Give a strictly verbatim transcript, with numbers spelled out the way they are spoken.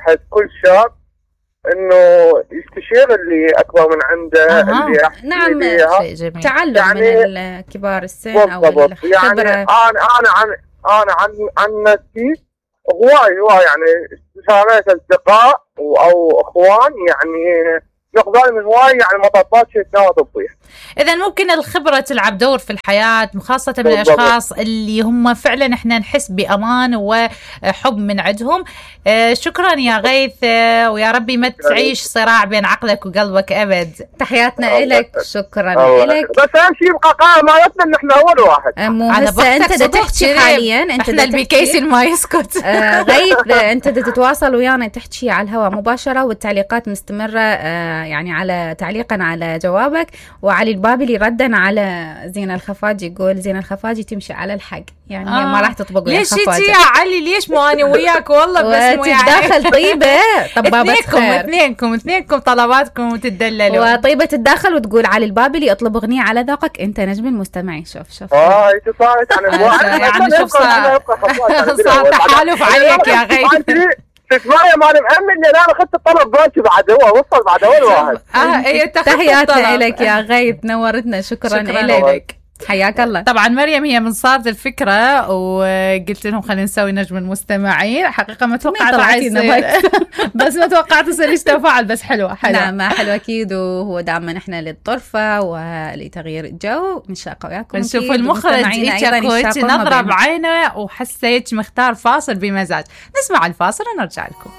الواحد كل شاب انه يستشير اللي اكبر من عنده. أه. اللي نعم شيء جميل. تعلم يعني من الكبار السن او الخبره. يعني انا انا عن انا عن عن نفسي هواي هواي يعني استشارات اصدقاء او اخوان، يعني نقبل من هواي يعني مطبات شفناها طبية. إذا ممكن الخبرة تلعب دور في الحياة، خاصة من الأشخاص اللي هم فعلا إحنا نحس بأمان وحب من عندهم. آه شكرا يا غيث، آه ويا ربي ما تعيش صراع بين عقلك وقلبك أبد. تحياتنا إلك، شكرا إلك. بس أهم شيء يبقى قائم مالتنا إن إحنا أول واحد. مو هسه أنت دا تحكي حاليا، أنت دا البيكيسن ما يسكت. آه غيث أنت دا تتواصل ويانا تحكي على الهواء مباشرة، والتعليقات مستمرة آه يعني على تعليقا على جوابك. وعلي البابلي ردا على زينة الخفاجي، يقول زينة الخفاجي تمشي على الحق، يعني آه. ما راح تطبق ويا الخفاجة. ليش يا علي؟ ليش مو أنا وياك والله بس مو يعني تتداخل طيبة طبابة خير. اثنينكم اثنينكم طلباتكم وتدللوا. وطيبة تتداخل وتقول علي البابلي اطلب أغنية على ذوقك أنت نجم المستمعين. شوف شوف اه انت صارت عن يعني شوف صار صار تحالف عليك يا غيث. تسمعي ما انا مأمن لي انا اخذت الطلب باكي بعد هو وصل بعد اول واحد. اه تحياتنا لك يا غيث، نورتنا. شكرا, شكرا لك، حياك الله. طبعا مريم هي من صارت الفكرة وقلت لهم خلينا نسوي نجم المستمعين. حقيقة ما توقعت بس ما توقعت يصير يستفعل، بس حلوة حلوة. نعم حلوة أكيد، وهو دائما احنا للطرفة ولتغيير الجو نشاق وياكم. نشوف المخرج إيش نظرة بعينه وحسيت مختار فاصل بمزاج. نسمع الفاصل ونرجع لكم.